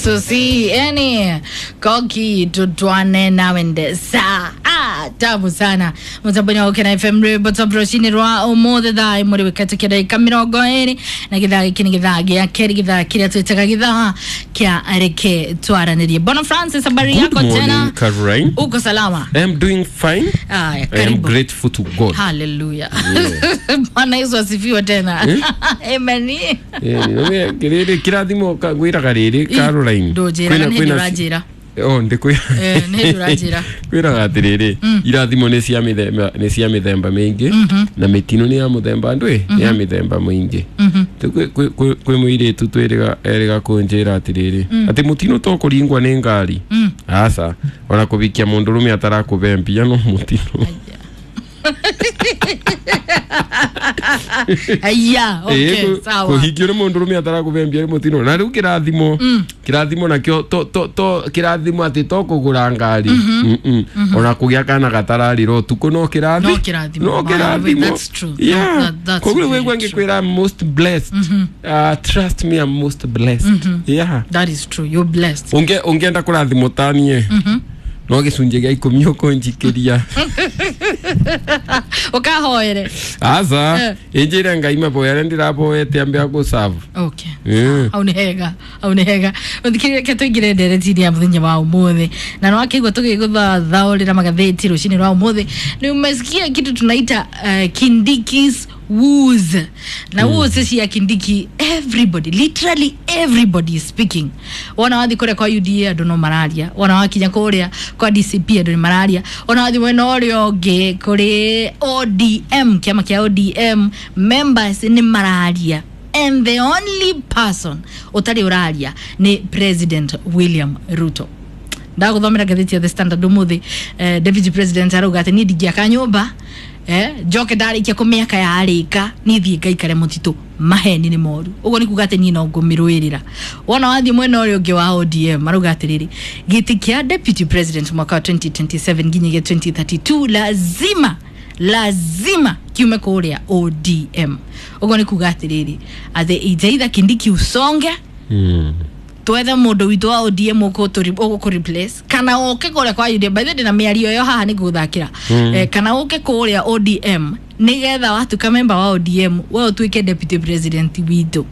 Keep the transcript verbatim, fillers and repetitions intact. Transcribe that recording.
Yesu si yani koki tutwane nawe ndesa. Ah, tamu sana mutambo-inĩ wa Gũkena F M, rwĩmbo top rũcinĩ rwa ũmũthĩ, thaa ĩmwe rĩu ĩkatũkia ndagĩka mĩrongo ĩrĩ na gĩthaa gĩkĩ nĩ gĩthaa gĩa kerĩ, gĩthaa kĩrĩa twĩtaga gĩthaa kĩa Reke Twaranĩrie. Bwana Francis, habari Good yako morning, tena? Caroline. Uko salama? I am doing fine. Aya, I am karibu. Grateful to God. Haleluya, Bwana Yesu asifiwe tena. Amen. Eh, nĩ- rĩrĩ kĩrathimo ka- ngwĩraga rĩrĩ, Caroline. Ndũnjĩraga. Kwĩna- Nĩ hĩndĩ kwĩna- ũranjĩra. Oh, ndĩkwĩra. Eh, nĩ hĩndĩ ũranjĩra. Kwĩraga atĩrĩrĩ, irathimo nĩ cia mĩthemba nĩ cia mĩthemba mĩingĩ, na mĩtino nĩ ya mũthemba ndwĩ nĩ ya mĩthemba mĩingĩ. Rĩu kwĩ- kwĩ- kwĩ kwĩ mũirĩtu twĩrĩga erĩga kũnjĩra atĩrĩrĩ, atĩ mũtino to kũringwa nĩ ngari, aca, ona kũbikia mũndũrũme atarakũbe mbia no mũtino. Aya, okay, Ĩĩ, sawa. Kũhingia ũrĩ mũndũrũme atarakũbe mbia nĩ mũtino. Na rĩu kĩrathimo kĩrathimo nakĩo to to to kĩrathimo atĩ to kũgũra ngari. Mm-mm. Ona kũgĩa kana gatararĩra ũtukũ no kĩrathi No kĩrathimo. no Wow, kĩrathimo. that's true. Yeah. That- that's Koguo very wĩgua true. ngĩkwĩra I'm most blessed. Uh, trust me, I'm most blessed, yeah. That is true, you're blessed. Ũnge ũngĩenda kũrathimwo tanie no gĩcunjĩ gĩa ikũmi ũkũnjikĩria. Ũkahoere. Aca. Eh. Ĩnjĩre Ngai maboya arĩa ndĩraboete ambe agũcabu. Okay. Mm. Hau nĩ hega, hau nĩ hega. Mũthikĩrĩria, reke tũingĩre ndereti-inĩ ya mũthenya wa ũmũthĩ, na nĩ wakĩigua tũgĩgũthathaũrĩra magathĩti rũcinĩ rwa ũmũthĩ, nĩ umesikia kitu tunaita uh, Kindiki's woes na mm. woes cia Kindiki. Everybody, literally everybody is speaking. Wona wathi kũrĩa kwa U D A, andũ no mararia. Wona wakinya kũrĩa kwa D C P, andũ nĩ mararia. Wona wathi mwena ũrĩa ũngĩ kũrĩ O D M, kĩama kĩa O D M members nĩ mararia, and the only person ũtarĩ ũraria nĩ President William Ruto. Ndagũthomera ngathĩti ya The Standard ũmũthĩ. eh, deputy president arauga atĩ niĩ ndingĩaka nyũmba, eh, njoke ndarĩkia kũmĩaka yarĩka niĩ thiĩ ngaikare mũtitũ. Maheni nĩ moru. Ũguo nĩ kuga atĩ niĩ no ngũmĩrũĩrĩra. Wona wathiĩ mwena ũrĩa ũngĩ wa O D M, marauga atĩrĩrĩ, gĩtĩ kĩa deputy president mwaka wa twenty twenty-seven nginyagia twenty thirty-two lazima lazima kiume kũrĩa O D M. Ũguo nĩ kuga atĩrĩrĩ, atĩ it's either Kindiki usonge, Mm. twethe mũndũ witũ wa O D M ũgũkũ replace, kana ũke kũrĩa kwa U D M. By the way, ndĩna mĩario ĩyo haha nĩ ngũthakĩra. Mm. eh, kana ũke kũrĩa O D M nĩgetha watuĩka member wa O D M, we ũtuĩke deputy president witũ.